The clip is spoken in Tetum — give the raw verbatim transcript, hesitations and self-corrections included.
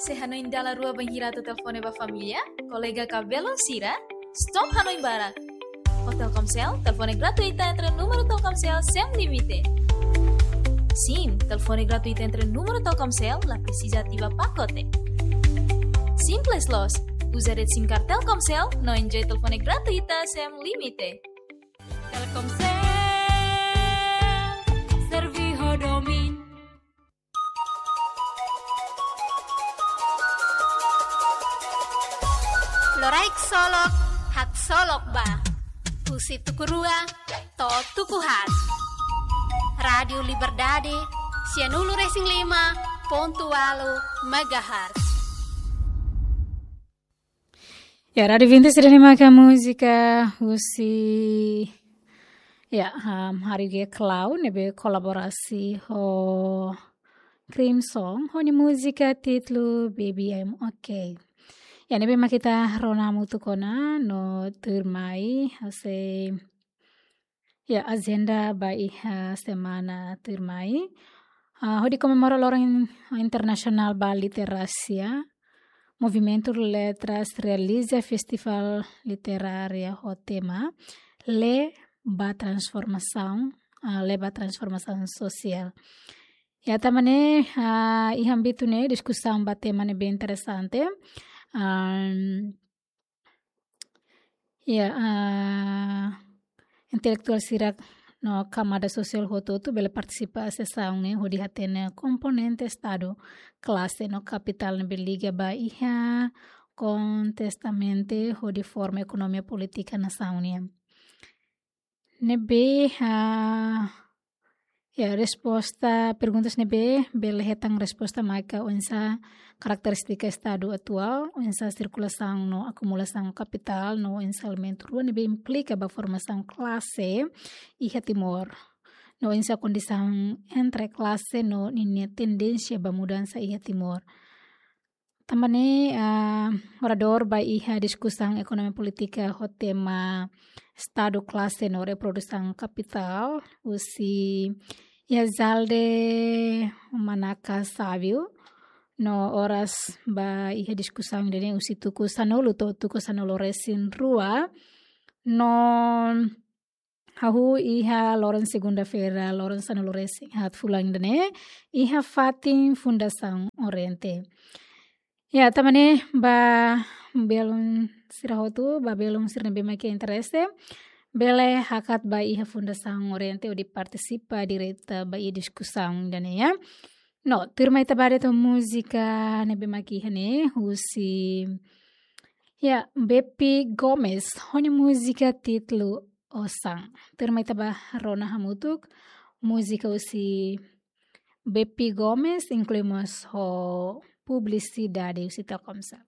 Se hanoin dala rua bainhira atu telefone ba família, kolega ka belun sira, stop hanoin barak. Ho Telkomsel, telefone gratuita entre númeru Telkomsel sem limite. Sim, telefone gratuita entre númeru Telkomsel, la presiza ativa pakote. Simples loos, uza rede SIM card Telkomsel, no enjoy telefone gratuita sem limite. Telkomsel, servi ho domin. Loraik solok, haksolok ba. Husi tuku rua to'o tuku haat. Rádiu Liberdade, sianulu resin lima pontu ualu megahertz. Ya, Rádiu Vinti sira ne'e maka múzika husi, ya, um, Harry G Cloud, ne'ebé kolaborasi ho Crimson, ho nia múzika títulu Baby I'm Okay. Ya, ne'ebé mak ita rona hamutuk ona no tuirmai, hanesan ya, ajenda ba iha semana tuirmai. Ah, hodi komemora Loron Internasionál ba Literasia, Movimentu Letras realiza Festival Literária ho tema Lee ba Transformasaun, ah, Lee ba Transformasaun Sosiál. Ya, tanba ne'e, ah, iha ámbitu ne'e diskusaun ba tema ne'ebé interesante. Am, Ya, ah, intelektuál sira no kamada sosiál hotu-hotu bele partisipa sesaun ne'e hodi hatene komponente Estadu, klase no kapitál ne'ebé liga ba iha kontestamente hodi forma ekonomia polítika nasaun nian. Ne'ebé, ah, ya, resposta, perguntas ne'ebé bele hetan resposta maka oinsá karakterístika Estadu atuál, oinsá sirkulasaun no akumulasaun kapitál, no oinsá elementu rua ne'ebé implika ba formasaun klase iha Timor, no oinsá kondisaun entre klase no ninia tendénsia ba mudansa iha Timor. Tanba ne'e, ah, oradór ba iha diskusaun ekonomia polítika ho tema Estadu, Klase no Reprodusaun Kapitál, husi Yazalde Manaka Savio, no oras ba iha diskusaun ida-ne'e husi tuku sanulu to'o tuku sanulu resin rua, no hahú iha loron segunda-feira, loron sanulu resin haat fulan ida-ne'e, iha fatin Fundasaun Oriente. Ya, tanba ne'e ba belun sira hotu, ba belun sira ne'ebé mak iha interese, bele hakat ba iha Fundasaun Oriente hodi partisipa direta ba iha diskusaun ida-ne'e, ya. No, tuirmai ita ba de'it ho múzika ne'ebé mak iha ne'e, husi, ya, Bepi Gomes, ho nia múzika títulu Osan. Tuirmai ita ba rona hamutuk, múzika husi Bepi Gomes, inklui mós ho publisidade husi Telkomsel.